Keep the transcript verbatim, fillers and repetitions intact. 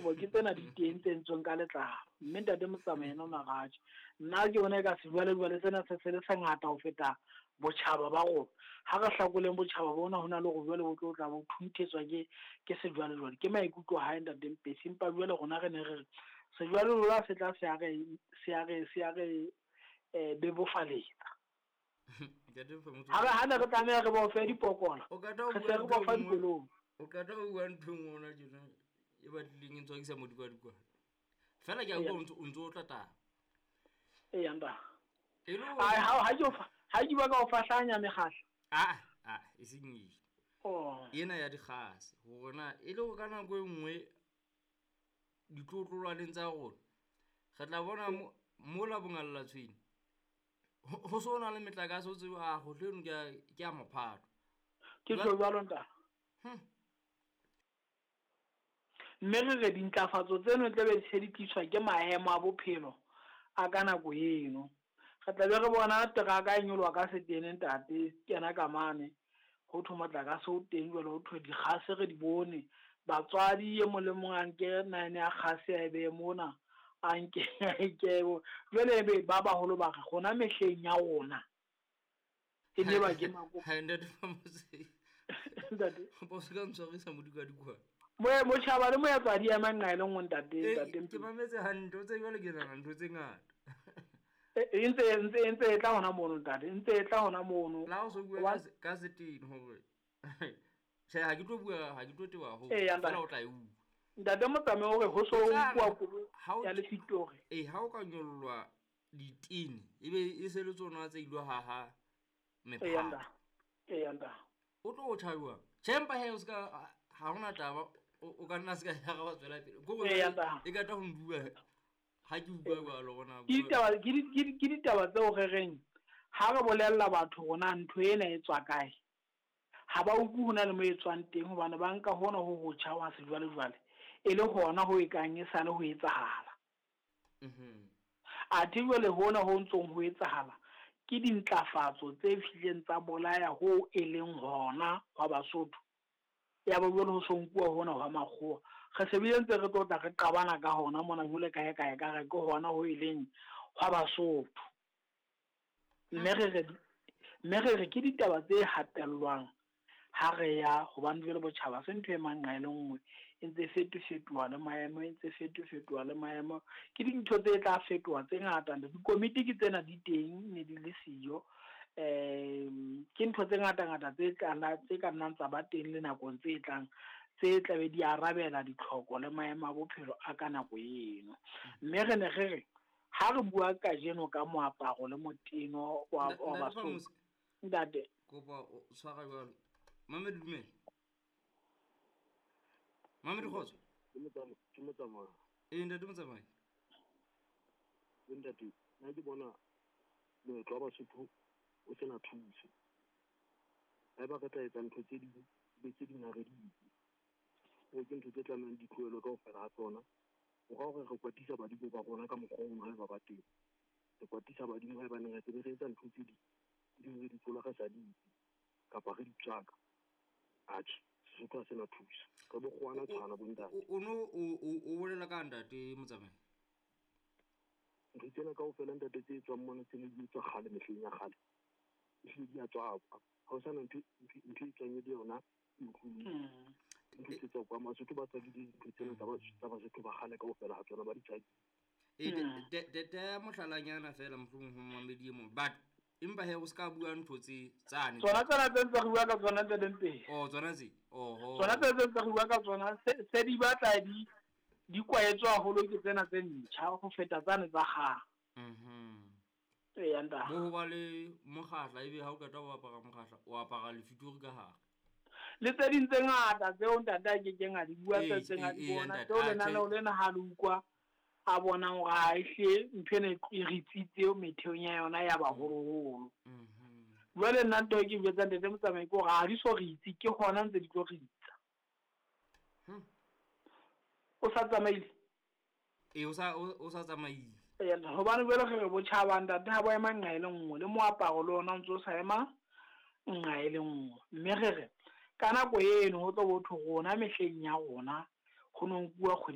Dikobo ke tsena di teng tse entsweng ka letlalo. Mme ntate Motsamai yena o na re atjhe. Nna ke bona eka sejwalejwale sena se se le sengata ho feta botjhaba ba rona. Ha re hlakoleng botjhaba bona ho na le hore jwale bo tlo tla bo thunthetswa ke ke sejwalejwale. Ke maikutlo a hae ntate Mpesi, empa jwale rona re ne re re sejwalejwale se tla se a re se a re se a re eh bebofaletsa. Ntate Mofamotse, Ha re ha ne re tlameha re bofe dipokola, o qeta ho re bua se re ntho e bofa nngwe- dikolong. o qeta ho bua ntho e nngwe hona tjena e batlileng e ntswakisa modikwadikwane. Fela ke a utlwa o ntso o ntso o tla taba. Eya ntate. E le hore- Ai ha ha ke o fa ha ke bua ka ho fahlanya mekgahla. Ah, ah, e seng eo. Oh. Ena ya dikgase hore na e le hore ka nako e nngwe ditlotlolwaneng tsa rona re tla bona mo- mola bongalla tshwene ho ho so na le metlakase o tsebe a kgotlo eno ke ya- ke ya mophato. Ke Jwale- tjho jwalo ntate. Hmm. Mme re re dintlafatso tseno tla be di se di tliswa ke maemo a bophelo a ka nako eno. Re tla be re bona teraka e nyoloha ka setene ntate, kena ka mane. Ho thwe motlakase o teng jwale ho thwe dikgase re di bone. Batswadi e mong le mong a nke nine ya kgase a e behe mona, a nke a e ke bo. Jwale ebe ba baholo ba re rona mehleng ya rona. E ne ba ke mako. Ha, ntate Famose. Ntate. Ba se ka ntshwarisa modikwadikwane. Moe motjhaba le moetlo di ema nqa e le nngwe ntate, Eh, ntate ke Mpisi. mametse hantle, o tsebe jwale ke nahana ntho tse ngata. E, e ntse, e ntse, e ntse e tla hona mono ntate, e ntse e tla hona mono. La o so bua Hobane ka se-, ka setene hore tjhe, ha ke tlo bua, ha ke tlo teba haholo, Eya, ntate. fela o tla e utlwa. Ntate Motsamai o re ho so E tla nkuwa re koloi ha o ya t- lefitori. Eh, ha o ka nyollwa ditene, ebe e se le tsona tse ilo haha Eya, mephato. ntate. Eya, ntate. O tlo o tjha jwang? Tjhe, empa he, o ska, ha hona taba, o, o ka nna se ka ya ra wa tswela pele. Ke hore Eya, jwale ntate. e ka tla ho ndua ha ke utlwa jwalo hore na Ke ditaba, ke di, ke di, ke ditaba tseo re reng ha re bolella batho hore na ntho ena e tswa kae, ha ba utlwe ho na le mo e tswang teng, hobane ba nka hona ho hotjha wa sejwalejwale e le hona ho e kang e sale ho etsahala. Mhm. Athe jwale hona ho ntsong ho etsahala ke dintlafatso tse fihlileng tsa bolaya ho e leng hona hwa Basotho. Ya ba jwale ho so nkuwa hona hwa makgowa. Re se bile ntse re tlotla re qabana ka hona mona jwale kae kae ka re ke hona ho e leng hwa Basotho. Mme re re, mme re re ke ditaba tse hatellwang ha re ya, hobane jwale botjhaba se ntho e mang nqa e le nngwe, e ntse e fetofetoha le maemo, e ntse e fetofetoha le maemo. Ke dintho tse tla fetoha tse ngata. Dikomiti ke tsena di teng, ne di le siyo. Em, ke ntho tse ngata-ngata tse tla nna, tse ka nnang tsa ba teng le nakong tse tlang, tse tla be di arabela ditlhoko le maemo a bophelo a ka nako eno. Mme re ne re re ha re bua kajeno ka moaparo le moteno wa, Ntate wa Ntate Basotho. Famose. Ntate. Kopa o tshwara jwalo. Mamedi dumela. Mamedi kgotso. Ke motsamai, ke motsamai. Ee, ntate Motsamai. Ke ntate, nna ke bona moetlo wa Basotho o sena thuso. Haeba re tla etsa ntho tse ding, be tse ding ha re di etse. Hoo ke ntho tse tlamehang di tlohelwe kaofela ha tsona. Ho ra hore re kwatisa badimo ba rona ka mokgwa o mong haeba ba teng. Re kwatisa badimo haebaneng re tsebe re etsa ntho tse ding, tse ding re di tlola re sa di itse, kapa re di tswaka. Atjhe, Sesotho ha se na thuso. Re bokgowana tshwana bo ntate. O, o no, o, o, o bolela ka ntate Motsamai? Ntho tsena kaofela ntate tse tswang mona tse ne di etswa kgale mehleng ya kgale. Ehlile di a tswakwa. Ha ho sana ntho, ntho, ntho e tswang e le yona e utlwileng. Mm. Ntho tse tswa kwa Basotho ba tswakile dintho tsena tsa ba-, tsa Basotho ba kgale kaofela ha tsona ba di tswakile. E, Mm. de, de, de, de mohlalanyana fela mohlomong ho mamedi e mong. But empa he o ska bua ntho tse tsane. Tsona tsena tse ntse re bua ka tsona tse leng pele. Oh, tsona tse? Oho. Tsona tse ntse re bua ka tsona, se, se di batla di, di kwaetswe haholo ke tsena tse ntjha ho feta tsane tsa kgale. Mhm. Eya, ntate. Bo ho ba le mokgahla, ebe ha o qeta ho apara mokgahla, o apara lefitori ka hare. Le tse ding tse ngata tseo ntate a kekeng a di bua, Ee, tse tse ngata ee, di ee, bona. ntate, Tseo a lenaneo tjhe. lena ha le utlwa a bonang hore ha ehlile ntho ena e re tsitse metheong ya yona ya baholoholo. Mhm. Jwale nna ntho e ke jwetsang ntate Motsamai ke hore ha di so re itse, ke hona ntse di tlo re itsa. Hmm. O sa tsamaile? Ee, o sa, o, o sa tsamaile. Ee, hobane jwale re re botjhaba ntate ha bo ema nqa e le nngwe, le moaparo le ona o ntso sa ema nqa e le nngwe. Mme re re ka nako eno ho tlo bo thwe rona mehleng ya rona ho no nkuwa kgwedi